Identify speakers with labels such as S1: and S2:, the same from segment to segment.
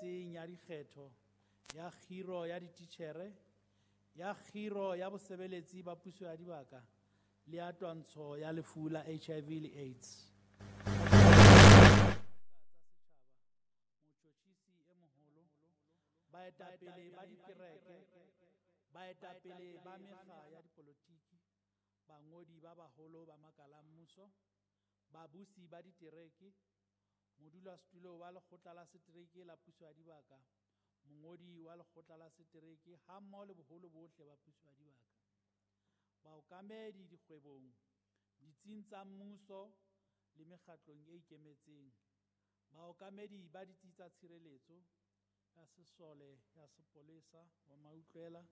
S1: Ya dikgetho, ya kgiro ya dititjhere, ya kgiro ya bosebeletsi ba puso ya dibaka le ya twantsho ya lefu la HIV le AIDS. Tsa setjhaba, motjhotjhisi e moholo, baetapele ba dikereke, baetapele ba mekga ya dipolotiki, bangodi ba baholo ba makala a mmuso, babusi ba ditereke, modulasetulo wa lekgotla la setereke la puso ya dibaka, mongodi wa lekgotla la setereke hammoho le boholo bohle ba puso ya dibaka, baokamedi dikgwebong, ditsing tsa mmuso le mekgatlong e ikemetseng, baokamedi ba ditsi tsa tshireletso ya sesole, ya sepolesa, wa mautlwela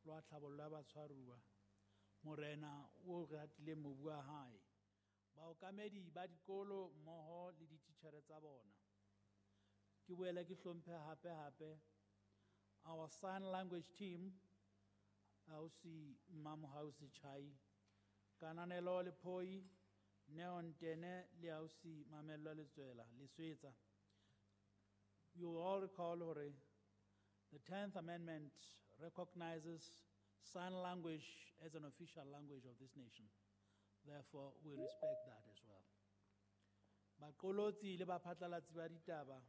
S1: le wa tlhabollo ya batshwaruwa, morena o re atileng mobu wa hae, baokamedi ba dikolo mmoho le dititjhere tsa bona. Ke boele ke hlomphe hape hape our sign language team, ausi Mmamohausi Chai, Kananelo Lephoi, Neo Ntene le ausi Mamello Letswela, Leswetsa. You will all recall hore the 10th Amendment recognizes sign language as an official language of this nation. Therefore, we respect that as well. Baqolotsi le baphatlalatsi ba ditaba,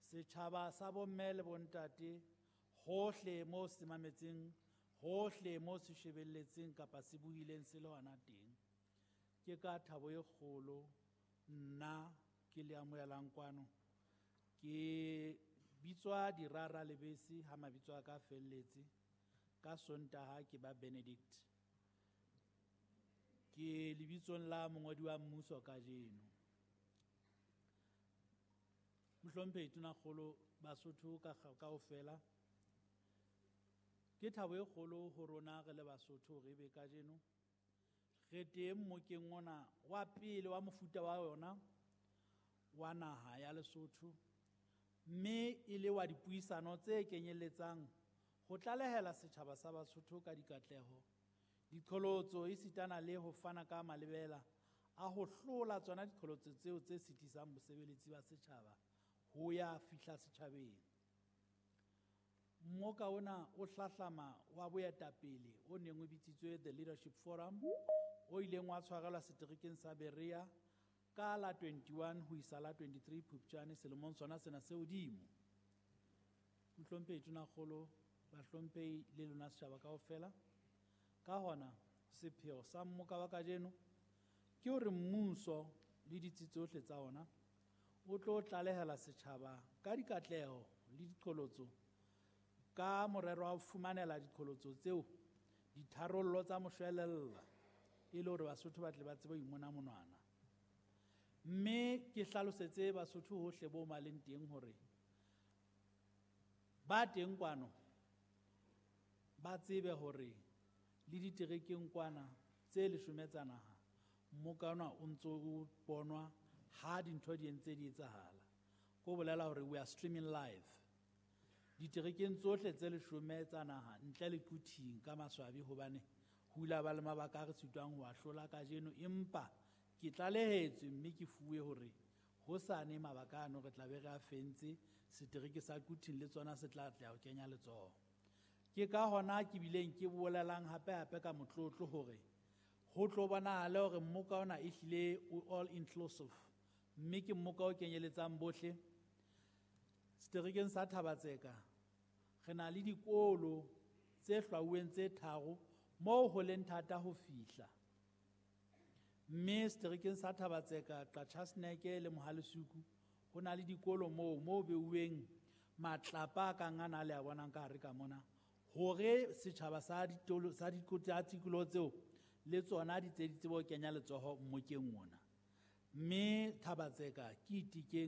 S1: setjhaba sa bomme le bontate, hohle mo se mametseng, hohle mo se shebelletseng kapa se buileng se le hona teng. Ke ka thabo e kgolo nna ke le amohelang kwano. Ke bitswa Dirara Lebese ha mabitso a ka a felletse. Ka Sontaha ke ba Benedict. Ke lebitsong la mongodi wa mmuso kajeno. Mohlomphehi Tonakgolo, Basotho ka kaofela. Ke thabo e kgolo ho rona re le Basotho re be kajeno re teng mmokeng ona wa pele wa mofuta wa yona wa naha ya Lesotho, mme e le wa dipuisano tse kenyelletsang ho tlalehela setjhaba sa Basotho ka dikatleho, diqholotso esitana le ho fana ka malebela a ho hlola tsona diqholotso tseo tse sitisang bosebeletsi ba setjhaba ho ya fihla setjhabeng. Mmoka ona o hlahlama wa boetapele o neng o bitsitswe The Leadership Forum, o ileng wa tshwarelwa seterekeng sa Berea ka la 21 ho isa la 23 Phupjane selemong sona sena se hodimo. Mohlomphehi Tonakgolo, bahlomphehi le lona setjhaba kaofela. Ka hona, sepheo sa mmoka wa kajeno ke hore mmuso le ditsi tsohle tsa ona o tlo tlalehela setjhaba ka dikatleho le diqholotso ka morero wa ho fumanela diqholotso tseo ditharollo tsa moshwelella e le hore Basotho ba tle ba tsebe ho imona monwana. Mme ke hlalosetse Basotho hohle bo maleng teng hore ba teng kwano ba tsebe hore le diterekeng kwana tse leshome tsa naha mmoka ona o ntso o bonwa ha dintho di entse di etsahala. Ko bolela hore we are streaming live. Diterekeng tsohle tse leshome tsa naha ntle le Quthing ka maswabi hobane ho ile ba le mabaka a re sitwang ho a hlola kajeno, empa ke tlalehetswe mme ke fuwe hore hosane mabaka ano re tla be re a fentse, setereke sa Quthing le tsona se tla tla ho kenya letsoho. Ke ka hona ke bileng ke bolelang hape hape ka motlotlo hore ho tlo bonahale hore mmoka ona ehlile o all inclusive, mme ke mmoka o kenyeletsang bohle. Seterekeng sa Thabatseka re na le dikolo tse hlwauweng tse tharo moo ho leng thata ho fihla. Mme seterekeng sa Thabatseka, Qachaseneke le Mohalesuku ho na le dikolo moo beuweng matlapa a kang ana le a bonang ka hare ka mona, hore setjhaba sa ditolo, sa tsa tikoloho tseo le tsona di tse di tsebe ho kenya letsoho mmokeng ona. Mme Thabatseka ke Itikeng.